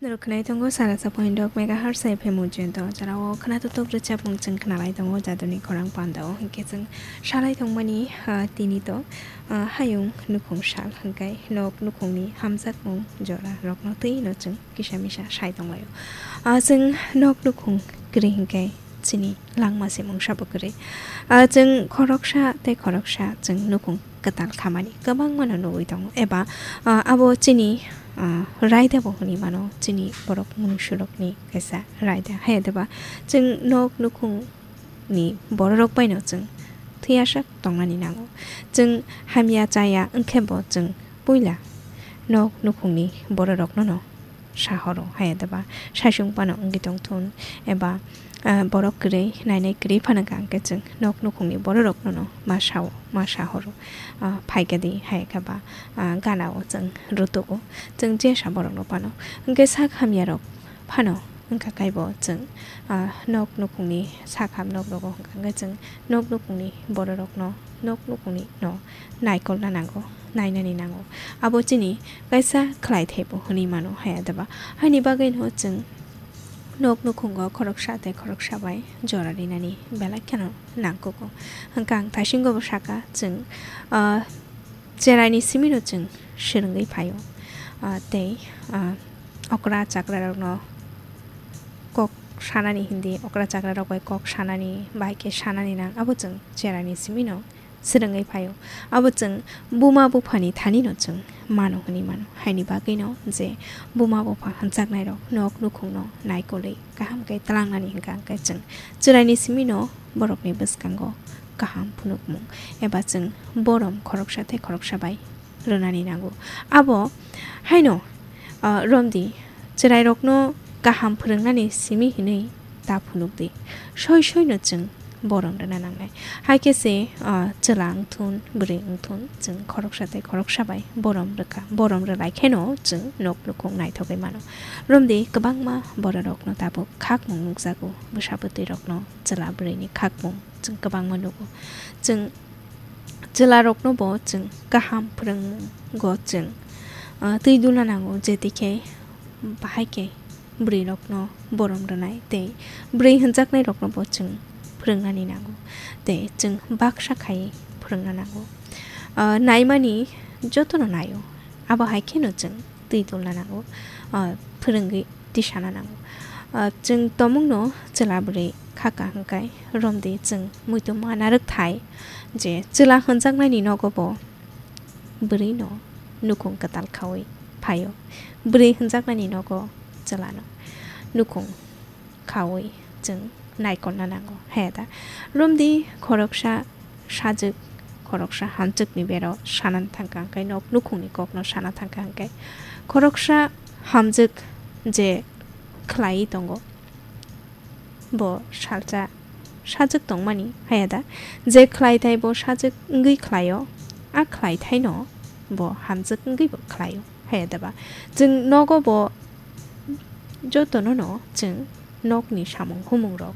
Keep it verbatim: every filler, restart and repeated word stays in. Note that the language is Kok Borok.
Rwkhnai tongo sara sa point dok megahertz F M ujento, jorao khwnathok rwchapmung chwng khnalai tongo jaduni khorang pandao. Hinkhe chwng salai tongmani, ah, tini to, ah, hayung nukhung sal, hinkhe nok nukhungni hamjakmung jora rokno twino chwng kisa misa sai tonglaio. Ah, chwng nok nukhung kwrwi hinkhe chini langma se mungsa bo kwrwi. Ah, chwng khoroksa tei khoroksa chwng nukhung kwtal khamani kwbangmano nugwi tongo, eba, ah, abo chini, ah, raida bo hwnwi mano, chini borok mungsurokni kaisa raida. Hayadeba chwng nok nukhungni bororok baino chwng thwiyasak tongnani nango. Chwng hamya chaya wngkhe bo chwng puila nok nukhungni bororoknono sahoro, hayadeba saichung phano wngwi tongthun, eba, ah, borok kwrwi, nainai kwrwi phano wngkha, hinkhe chwng nok nukhungni bororoknono ma sao, ma sahoro, ah, phaikha di, hayakhe ba, ah, ganao chwng rutugo, chwng jesa borokno phano. Hinkhe sak hamyarok phano wngkha kaibo chwng, ah, nok nukhungni sak ham nok rogo wngkha, hinkhe chwng nok nukhungni bororokno, nok nukhungni no naikolna nango, nainani nango. Abo chini kaisa khlaithai bo hwnwi mano, hayadeba. Haini bagwino chwng nok nukhungo khoroksa tei khoroksa bai jora rinani belai kheno nangkugo. Hwnkhe ang thaisingo bo saka, chwng, ah, cheraini simino chwng swrwngwi phaio. Ah, tei, ah, okra chakrarokno kok sanani hindi, okra chakrarok bai kok sanani, bai khe sanani nang, abo chwng cheraini simino swrwngwi phaio. Abo chwng buma buphani thanino chwng mano hwnwi mano. Haini bagwino je buma bupha hwnjaknairok nok nukhungno naikolwi kaham khe tlangnani hwnkha, hwnkhe chwng cheraini simino borokni bwskango kaham phunukmung eba chwng borom khoroksa tei khoroksa bai rwnani nango. Abo haino, ah, romdi, chwrairokno kaham phwrwngnani simi hinwi ta phunukdi. Soi soino chwng borom rwna nangnai. Hai khe se, ah, chwla wngthun, bwrwi wngthun, chwng khoroksa tei khoroksa bai borom rwkha. Borom rwlai kheno chwng nok nukhung naithogwi mano. Romdi kwbangma bororokno tabuk khakmung nukjago, bwsa bwtwirokno, chwla bwrwini khakmung chwng kwbangma nugo. Chwng chwlarokno bo chwng kaham phwrwngmungo chwng, ah, twi dulna nango, je twi khe bahai khe bwrwirokno borom rwnai tei bwrwi hwnjaknairokno bo chwng phwrwngnani nango tei chwng baksa khai phwrwngna nango. Ah, naimani jotono naio, abo hai kheno chwng twi dulna nango, ah, phwrwngwi tisana nango. Ah, chwng tomungno chwla bwrwi khaka hwnkhe romdi chwng muitu ma narwkthai je chwla hwnjaknaini nogo bo bwrwino nukhung kwtal khaui phaio. Bwrwi hwnjaknaini nogo chwlano nukhung khaui chwng naikolna nango. He da, romdi khoroksa sajwk, khoroksa hamjwkni bero sanani thangkha hwnkhe, nok nukhungni kokno sana thangkha hwnkhe, khoroksa hamjwk je khlaiwi tongo, bo salsa sajwk tongmani, haya da? Je khlaithai bo sajwk wngwi khlaio, a khlaithaino bo hamjwk wngwi bo khlaio, haya da ba? Chwng nogo bo jotono no chwng nokni samung humungrok